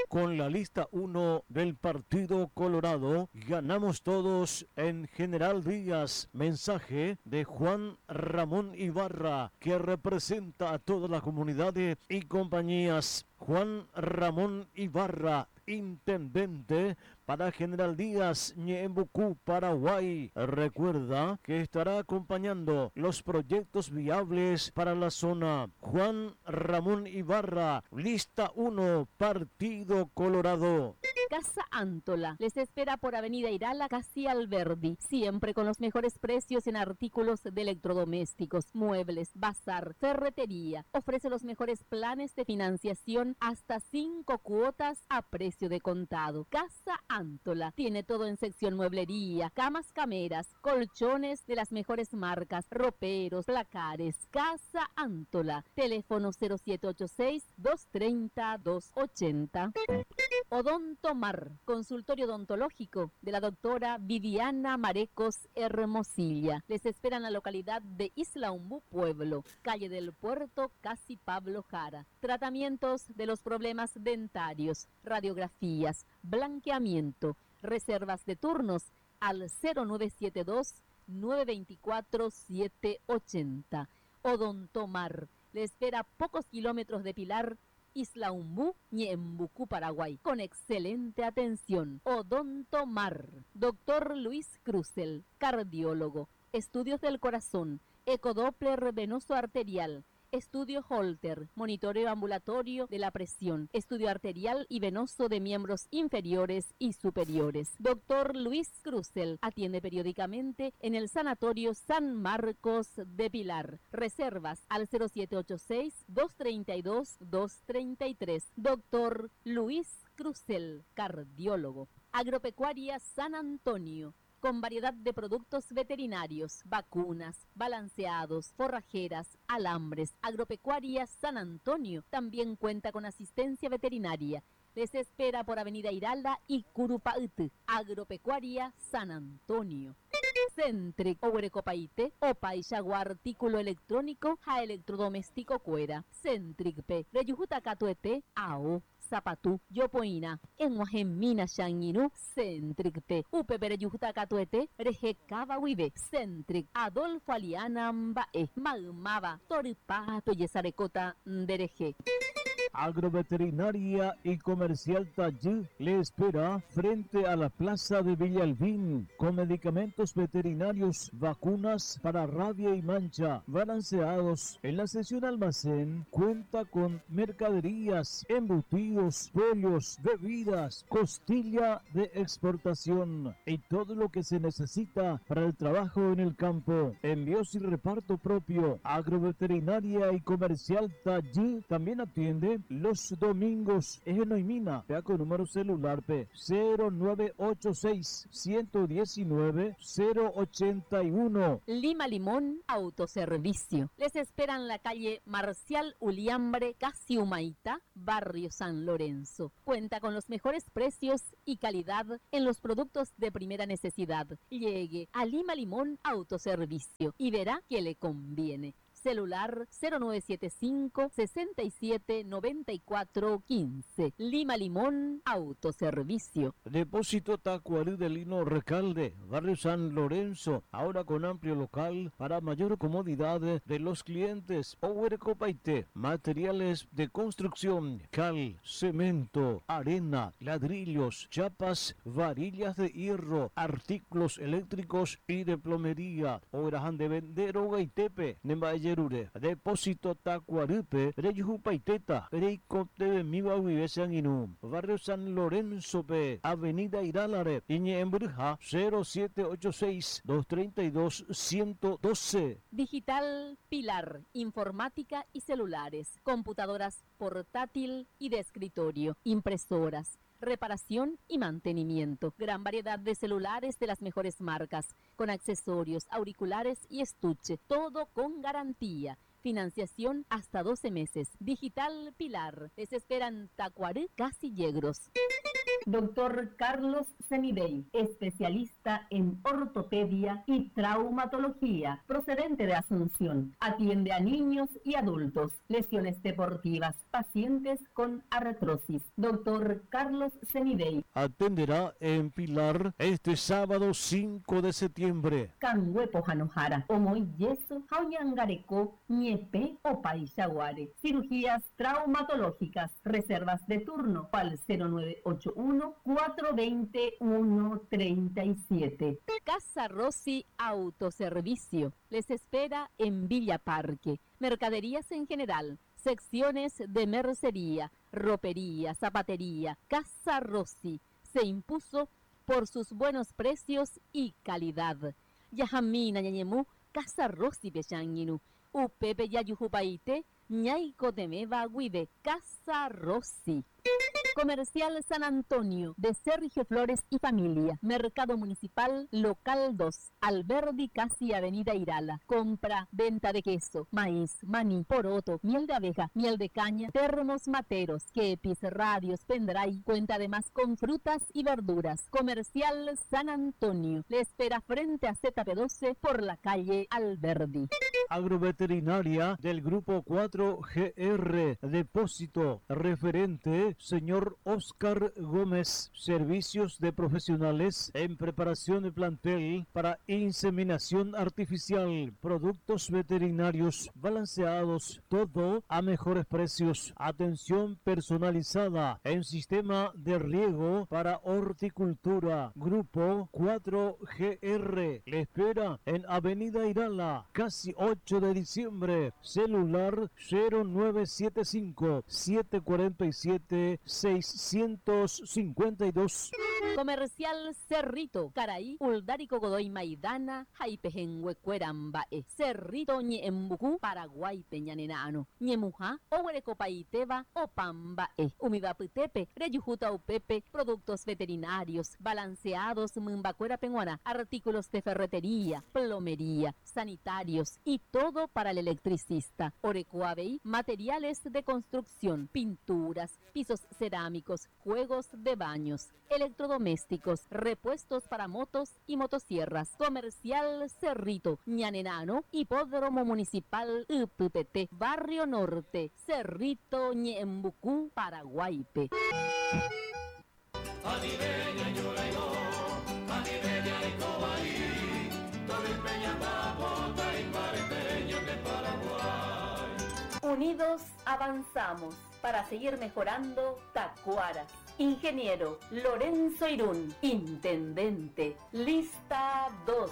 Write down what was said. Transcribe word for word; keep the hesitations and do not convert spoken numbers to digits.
Con la lista uno del Partido Colorado, ganamos todos en General Díaz. Mensaje de Juan Ramón Ibarra, que representa a toda la comunidad y compañías. Juan Ramón Ibarra, intendente para General Díaz, Ñeembucú, Paraguay. Recuerda que estará acompañando los proyectos viables para la zona. Juan Ramón Ibarra, lista uno, Partido Colorado. Casa Antola les espera por Avenida Irala, casi Alberdi, siempre con los mejores precios en artículos de electrodomésticos, muebles, bazar, ferretería. Ofrece los mejores planes de financiación hasta cinco cuotas a precio de contado. Casa Antola tiene todo en sección mueblería, camas cameras, colchones de las mejores marcas, roperos, placares. Casa Antola, teléfono cero siete ocho seis, dos treinta, dos ochenta. Odontomar, consultorio odontológico de la doctora Viviana Marecos Hermosilla. Les espera en la localidad de Isla Umbú, Pueblo, calle del Puerto, casi Pablo Jara. Tratamientos de los problemas dentarios, radiografías, blanqueamiento, reservas de turnos al cero nueve siete dos, nueve veinticuatro, siete ochenta. Odontomar le espera a pocos kilómetros de Pilar, Isla Umbú, Ñeembucú, Paraguay, con excelente atención. Odontomar, doctor Luis Cruzel, cardiólogo, estudios del corazón, ecodoppler venoso arterial, estudio Holter, monitoreo ambulatorio de la presión, estudio arterial y venoso de miembros inferiores y superiores. Doctor Luis Cruzel atiende periódicamente en el Sanatorio San Marcos de Pilar. Reservas al cero siete ocho seis, dos treinta y dos, dos treinta y tres. Doctor Luis Cruzel, cardiólogo. Agropecuaria San Antonio, con variedad de productos veterinarios, vacunas, balanceados, forrajeras, alambres. Agropecuaria San Antonio también cuenta con asistencia veterinaria. Les espera por Avenida Irala y Curupayty. Agropecuaria San Antonio. Centric, Oguerecopaite, Opa y Jaguar, artículo electrónico, ja electrodoméstico cuera. Centric P, Reyujuta Catuete, A O, Zapatú, Yopoina, Enguajemina Shanguinu, Centric P, U P P Reyujuta Catuete, Reje Cabahuibe, Centric, Adolfo Aliana Mbae, Magmaba, Toripato Yesarecota, Ndereje. Agroveterinaria y Comercial Tallí le espera frente a la Plaza de Villalbín con medicamentos veterinarios, vacunas para rabia y mancha, balanceados. En la sesión almacén cuenta con mercaderías, embutidos, pollos, bebidas, costilla de exportación y todo lo que se necesita para el trabajo en el campo. Envíos y reparto propio. Agroveterinaria y Comercial Tallí también atiende los domingos. Es en Oimina, vea con número celular P cero nueve ocho seis, ciento diecinueve, cero ochenta y uno. Lima Limón Autoservicio. Les espera en la calle Marcial Uliambre, casi Humaitá, barrio San Lorenzo. Cuenta con los mejores precios y calidad en los productos de primera necesidad. Llegue a Lima Limón Autoservicio y verá que le conviene. Celular cero nueve siete cinco, sesenta y siete, noventa y cuatro, quince. Lima Limón Autoservicio. Depósito Tacuarí de Lino Recalde, barrio San Lorenzo, ahora con amplio local para mayor comodidad de los clientes. Owercopaite, materiales de construcción, cal, cemento, arena, ladrillos, chapas, varillas de hierro, artículos eléctricos y de plomería. Obrajan de vender Ogaitepe, Nemba Yerure, Depósito Tacuaripe, Reyujupaiteta, Reycote Miba Sanguinu, Barrio San Lorenzo P, Avenida Iralare, Iñe Embruja, cero siete ocho seis, dos treinta y dos, ciento doce. Digital Pilar, informática y celulares, computadoras portátil y de escritorio, impresoras, reparación y mantenimiento. Gran variedad de celulares de las mejores marcas, con accesorios, auriculares y estuche, todo con garantía. Financiación hasta doce meses. Digital Pilar. Les esperan Tacuarí, casi Yegros. Doctor Carlos Semidey, especialista en ortopedia y traumatología, procedente de Asunción. Atiende a niños y adultos, lesiones deportivas, pacientes con artrosis. Doctor Carlos Semidey. Atenderá en Pilar este sábado cinco de septiembre. Kangue pohãnohára, omoĩ yeso, ha oñangareko, ñepẽ, opaichaguáre. Cirugías traumatológicas, reservas de turno al cero nueve ocho uno cuatro veinte uno treinta y siete. Casa Rossi Autoservicio les espera en Villa Parque. Mercaderías en general, secciones de mercería, ropería, zapatería. Casa Rossi se impuso por sus buenos precios y calidad. Yajamina ñañemu, Casa Rossi pechañinu. Upepe yayujupaite, ñaiko temeva guive, Casa Rossi. Comercial San Antonio, de Sergio Flores y familia. Mercado Municipal, Local dos, Alberdi, casi Avenida Irala. Compra, venta de queso, maíz, maní, poroto, miel de abeja, miel de caña, termos materos, kepis, radios, pendrive. Cuenta además con frutas y verduras. Comercial San Antonio, le espera frente a Z P doce por la calle Alberdi. Agroveterinaria del Grupo cuatro G R, Depósito, referente, señor Oscar Gómez, servicios de profesionales en preparación de plantel para inseminación artificial, productos veterinarios balanceados, todo a mejores precios, atención personalizada en sistema de riego para horticultura. Grupo cuatro G R le espera en Avenida Irala, casi ocho de diciembre, celular cero nueve siete cinco, siete cuarenta y siete, seiscientos cincuenta y dos. Comercial Cerrito, Caraí, Uldarico Godoy Maidana, Jaipejenguecuerambae, Cerrito Ñembucú, Paraguay Peñanenano, Ñemujá, Ohuerecopaiteba, Opambae, Umibaputepe, Reyujuta Upepe, productos veterinarios, balanceados, Mumbacuera Peñuana, artículos de ferretería, plomería, sanitarios y todo para el electricista. Orecoabey, materiales de construcción, pinturas, pisos cerámicos, juegos de baños, electrodomésticos, repuestos para motos y motosierras. Comercial Cerrito, Ñanenano, Hipódromo Municipal U P P T, Barrio Norte, Cerrito, Ñembucú, Paraguaype. Unidos avanzamos para seguir mejorando Tacuara. Ingeniero Lorenzo Irún, Intendente, Lista dos.